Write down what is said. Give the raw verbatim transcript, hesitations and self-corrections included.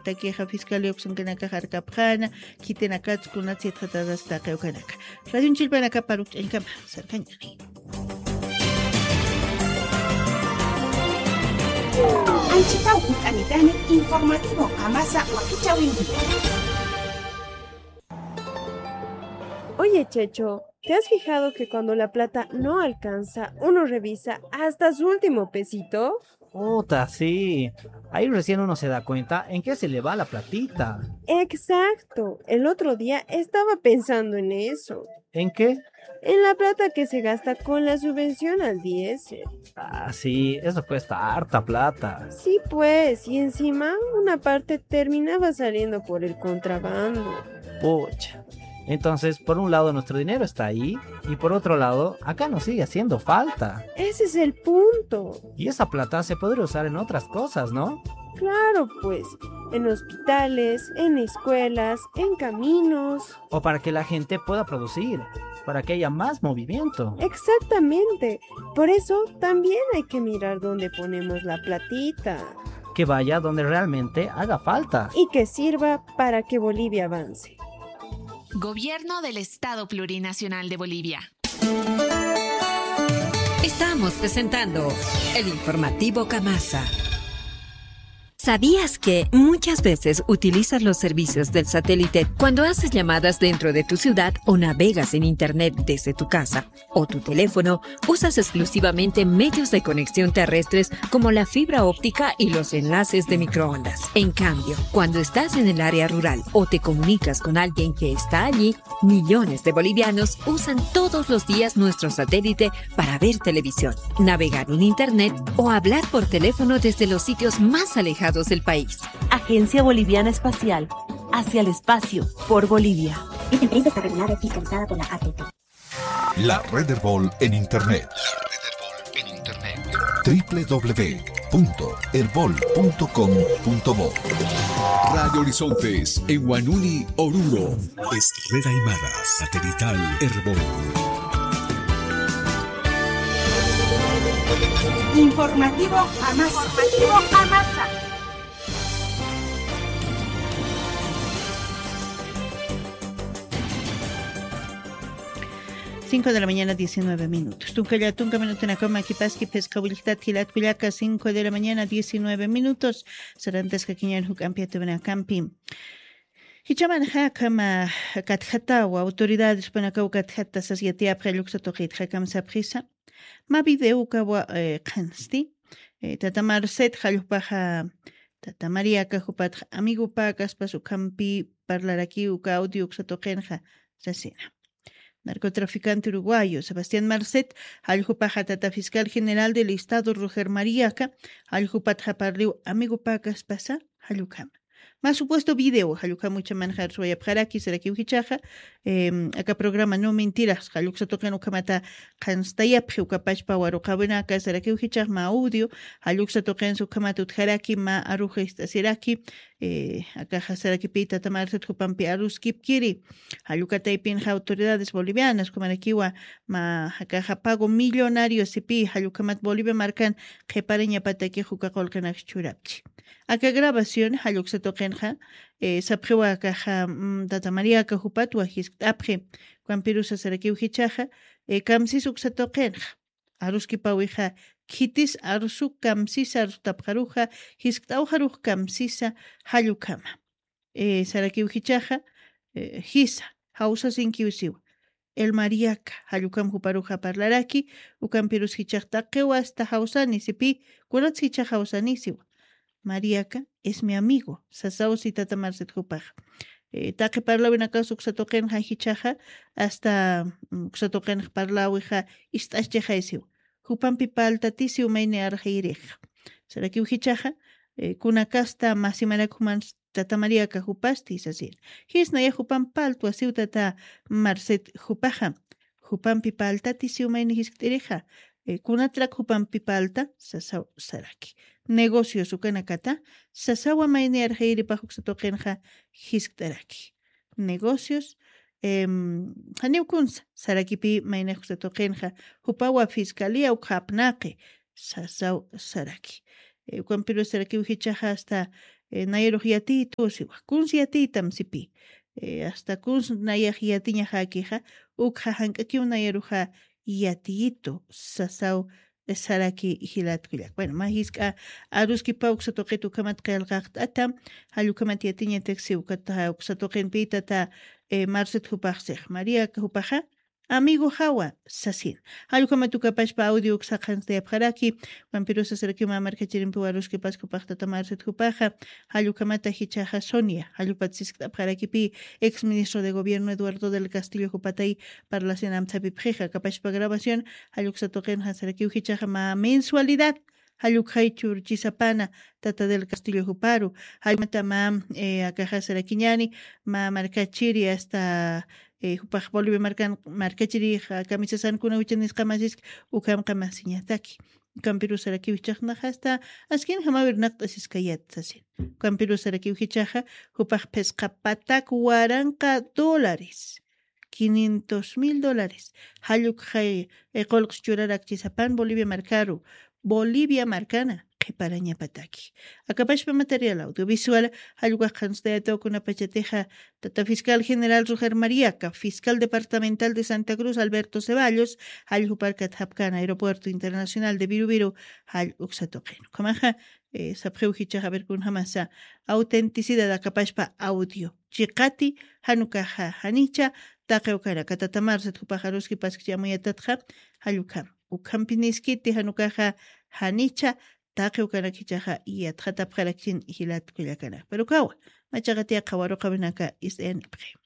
takixa fiscalía uksankanakax arkapxäna, khitinakats kunats yatxatatas taqi ukanaka. Radio Chilpanakap arukch'añkama, sarkañäni. Anchitaw utanitani informativo Qamasa wakichäwinki. Oye, Checho, ¿te has fijado que cuando la plata no alcanza, uno revisa hasta su último pesito? Puta, sí. Ahí recién uno se da cuenta en qué se le va la platita. Exacto. El otro día estaba pensando en eso. ¿En qué? En la plata que se gasta con la subvención al diésel. Ah, sí, eso cuesta harta plata. Sí, pues, y encima una parte terminaba saliendo por el contrabando. Pucha. Entonces, por un lado nuestro dinero está ahí y por otro lado, acá nos sigue haciendo falta. Ese es el punto. Y esa plata se podría usar en otras cosas, ¿no? Claro, pues, en hospitales, en escuelas, en caminos. O para que la gente pueda producir, para que haya más movimiento. Exactamente. Por eso también hay que mirar dónde ponemos la platita. Que vaya donde realmente haga falta. Y que sirva para que Bolivia avance. Gobierno del Estado Plurinacional de Bolivia. Estamos presentando el informativo Qamasa. ¿Sabías que muchas veces utilizas los servicios del satélite cuando haces llamadas dentro de tu ciudad o navegas en internet desde tu casa o tu teléfono? Usas exclusivamente medios de conexión terrestres como la fibra óptica y los enlaces de microondas. En cambio, cuando estás en el área rural o te comunicas con alguien que está allí, millones de bolivianos usan todos los días nuestro satélite para ver televisión, navegar en internet o hablar por teléfono desde los sitios más alejados del país. Agencia Boliviana Espacial, hacia el espacio, por Bolivia. Esta empresa está regulada y fiscalizada por la A T P. La Red Erbol en Internet. W W w punto erbol punto com punto bo. Radio Horizontes, en Huanuni, Oruro. Es Red Aymara, satelital Erbol. Informativo Qamasa. Informativo Qamasa. Cinco de la mañana, diecinueve minutos. Tunka ya tunka minutunakama kipaski pesca wilktat jilat kullaka, cinco de la mañana, diecinueve minutos. Sarantaskakiñan juk'ampi atuwinakampi. Jichaman jakama katjatawa autoridades panakaw katjata sas yatiyapxi lluksatuqit jakam sapxisa. Ma video kawa, eh, qhansti. Eh, tata Marcet jallpaxa, tata María kajupatxa amigo pakaspas ukampi parlarakiw ka audio uksatuqinxa sasina. Narcotraficante uruguayo Sebastián Marcet, jalljupaxa tata fiscal general del Estado Roger Mariaca, jalljupat japarliw amigo pakaspasa, jallukama. Más supuesto video, jallukama uchaman jarsuwayapxaraki, sarakiw jichaxa, em, aka programa no mentiras, jalluksa tuqin ukamata qhanstayapxi ukapachpa waruqawinaka, sarakiw jichax ma audio, jalluksa tuqin ukamata utjaraki, ma aruxa ist'asiraki, eh, akaxa sarakipi tata Marcet jupampi aruskipkiri, jallukataypinxa autoridades bolivianas, kumarakiwa ma akaxa pago millonario sipi, jallukamat Bolivia markan qhipariñapataki juka qulqinax churapchi. Aka grabación, jalluksa tuqinxa, eh, sapxiwa akaxa, mm, tata María aka jupatwa jiskt'apxi, kampirusa sarakiw jichaxa, eh, kamsis uksa tuqinxa. Aruskipawixa, khitis arsu kamsisa, arustapxaruxa, jiskt'awxarux kamsisa, jallukama. Eh, sarakiw jichaxa, eh, jisa, jawsasinkiw siwa. El Mariaca, jallukam juparuxa parlaraki, ukampirus jichax taqiwa hasta jawsani sipi, kunats jichax jawsani siwa. Mariaca es mi amigo, sasaw si tata Marcet jupaxa. Eh, taqi parlawinakas uksa tuqinxa jichaxa, hasta, mm, uksa tuqinxa parlawixa, ist'aschixay siwa. Jupampi paltatisiw mayni arxayrix. Sarakiw jichaxa, eh, kunakasta masimarak juman tata Mariaca jupasti sasir. Jisnaya jupampi paltwa siw tata Marcet jupaxa. Jupampi paltatisiw mayni jiskt'irixa. Eh, kunatrak jupampi palta sasaw saraki. Negocios ukanakata sasawa mayni arxayripax uksa tuqinxa jiskt'araki. Negocios, em, janiw kunsa, sarakipi maynax uksa tuqinxa, jupawa fiscalía ukxapnaqi, sasaw saraki. Eh, ukampirus sarakiw jichaxa hasta, Nayarux yatiyitu siwa kuns yatiyitam sipi. Asta kuns nayax yatiñaxäkixa ukxa jank'akiw nayaruxa yatiyitu sasaw. Saraki jilatkullak bueno mä jisk'a aruskipaw uksa tuqit ukhamat qillqaqt'ata. Jallukhamat yatiñatak siwkata uksa tuqinpïtata marcet jupaxsix maría jupaxa amigo jawa sasin. Jallukhamat ukapashpa audio uksaqanstayapxaraki. Kampirusa sarakiw mä markachirimpiwa aruskipasku paqtata marcet jupaxa. Jallukhamata jichhaxa sonia jallupat siskt'apxarakipi ex ministro de gobierno eduardo del castillo jupatay parlasin amthapipxixa kapashpa grabación. Jalluksa tuqinxa sarakiw jichhaxa mä mensualidad jallukxay churchisapana tata del castillo juparu. Jallumata mä akaxa sarakiñani mä markachiri asta jupax bolivia markan markachirix kamisasankuna juchanisqamasiski. Ukhamqamasiñataki. Ukampiru sarakiw jichhaxnaxasta askin jamawir naqt'asiskayat sasin. Ukampiru sarakiw jichhaxa jupax phisqa patak waranqa dólares quinientos mil dólares jallukxay qullqs churarakchisapan bolivia markaru bolivia markana qhiparañapataki. Akapashpa material audiovisual jallukaqanstayataw kunapachatixa tata fiscal general roger mariaca fiscal departamental de santa cruz alberto ceballos jalljuparkat japkan aeropuerto internacional de viruviru jall uksatuqin ukhamaxa. Sapxiw jichaxa averkunjamasa autenticidad akapashpa audio chiqati janukaxa janicha taqiwkanaka tatamarsit jupaxaruski paskchi amuyatatxa. Jallukham ukhampiniskiti janukaxa janicha taqiwkanak jichaxa yatxatapxarakchin jilatkullakanak pero kawa machaqatiya qhawaruqawinaka ist'ayanipxi.